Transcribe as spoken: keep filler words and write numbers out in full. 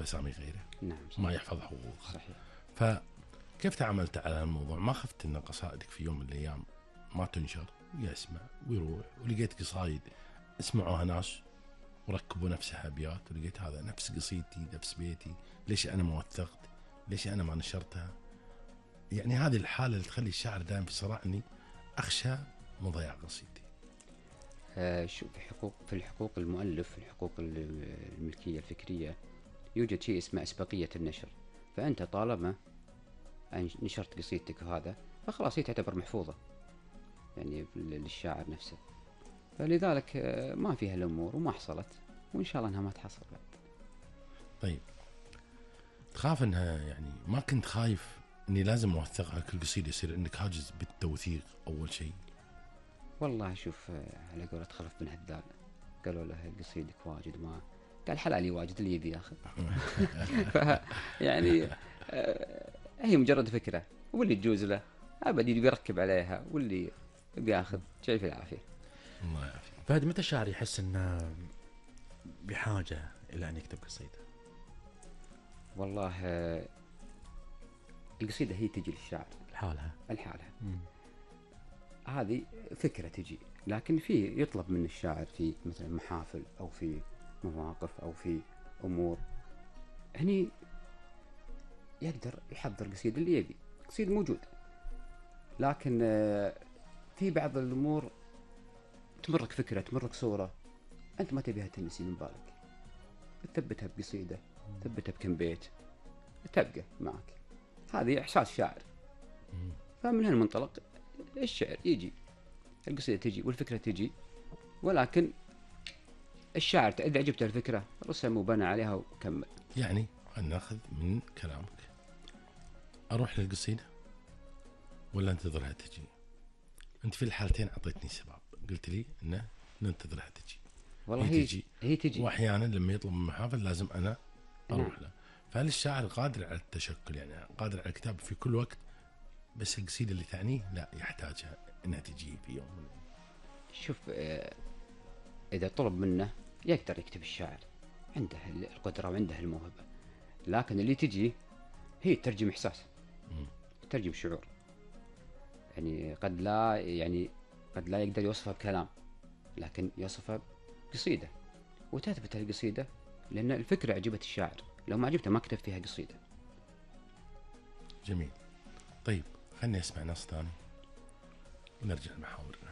أسامي غيره. نعم صحيح. ما يحفظ حقوقه. صحيح. فكيف تعاملت على الموضوع؟ ما خفت أن قصائدك في يوم من الأيام ما تنشر ويسمع ويروح؟ ولقيت قصايد اسمعوها ناس وركبوا نفسها أبيات، ولقيت هذا نفس قصيدتي نفس بيتي، ليش أنا ما وثقت؟ ليش أنا ما نشرتها؟ يعني هذه الحالة اللي تخلي الشاعر دائما في صراع، أني أخشى من ضياع قصيدتي. آه شو في حقوق في الحقوق المؤلف، في الحقوق الملكية الفكرية يوجد شيء اسمه أسبقية النشر. فأنت طالما نشرت قصيدتك وهذا فخلاص هي تعتبر محفوظة يعني للشاعر نفسه، فلذلك ما فيها الأمور وما حصلت، وإن شاء الله أنها ما تحصل بعد. طيب تخاف أنها يعني ما كنت خايف أني لازم أوثقها كل قصيدة يصير عندك حاجز بالتوثيق أول شيء؟ والله شوف على قولة خلف بن هدال قالوا له قصيدك واجد، ما قال حلالي واجد اللي يبي ياخذ. يعني هي مجرد فكرة، واللي تجوز له أبد يركب عليها، واللي بياخذ شيء في العافية. الله يعافيك. فهد متى الشاعر يحس انه بحاجة الى ان يكتب قصيدة؟ والله القصيدة هي تجي للشاعر لحالها لحالها، هذه فكرة تجي، لكن في يطلب من الشاعر في مثلا محافل أو في مواقف أو في أمور هني يقدر يحضر قصيدة اللي يبي، قصيدة موجود. لكن في بعض الأمور تمرك فكرة، تمرك صورة أنت ما تبيها تنسي من بالك، تثبتها بقصيدة، تثبتها بكم بيت، تبقى معك. هذه إحساس شاعر. فمن هالمنطلق الشعر يجي، القصيدة تجي والفكرة تجي، ولكن الشاعر إذا عجبته الفكرة رسم وبنى عليها وكمل. يعني ناخذ من كلامك أروح للقصيدة ولا انتظرها تجي؟ أنت في الحالتين أعطيتني سبب، قلت لي إنه ننتظرها تجي. والله هي, هي تجي. هي تجي، وأحيانا لما يطلب من محافل لازم أنا أروح نعم. له. فهل الشاعر قادر على التشكل، يعني قادر على الكتاب في كل وقت، بس القصيدة اللي تعنيه لا يحتاجها إنها تجي في يوم من الأيام؟ شوف إذا طلب منه يقدر يكتب الشاعر، عنده القدرة وعنده الموهبة، لكن اللي تجي هي ترجم إحساس، ترجم شعور. يعني قد لا يعني قد لا يقدر يوصفها بكلام، لكن يوصفها بقصيدة وتثبت القصيدة، لأن الفكرة عجبت الشاعر، لو ما عجبته ما كتب فيها قصيدة. جميل. طيب خلني أسمع نص ثاني ونرجع لمحاورنا.